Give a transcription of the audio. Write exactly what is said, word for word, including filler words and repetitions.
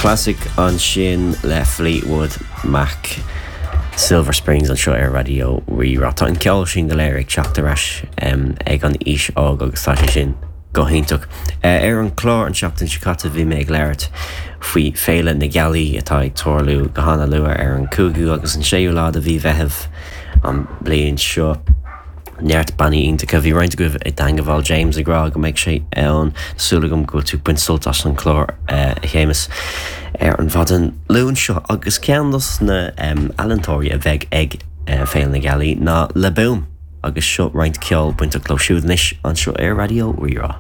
Classic ansin le Fleetwood Mac. Silver Springs anseo ar Raidió Rí-Rá. Tá an ceol sin go léir ag teacht ar ais um, ag an aois óg agus tá sé sin go hiontach. Uh, ar an chlár an seachtain seo caite bhí mé ag labhairt faoi Féile na Gealaí atá ag tarlú go han-luath ar an cúigiú agus an séú lá de mhí Mheithimh an bliain seo. Neart bannaí iontacha bhí roinnt agaibh i dteagmháil James ag rá go mbeidh sé ann súil agam go tú baint sult as an chlár uh, a Shéamus ar an mhaidin Luain seo agus ceann dos na um, ealaíontóirí a bheidh ag uh, Féile na Gealaí ná Le Boom agus seo roinnt ceol bainteach leo siúd anois anseo ar Raidió Rí-Rá.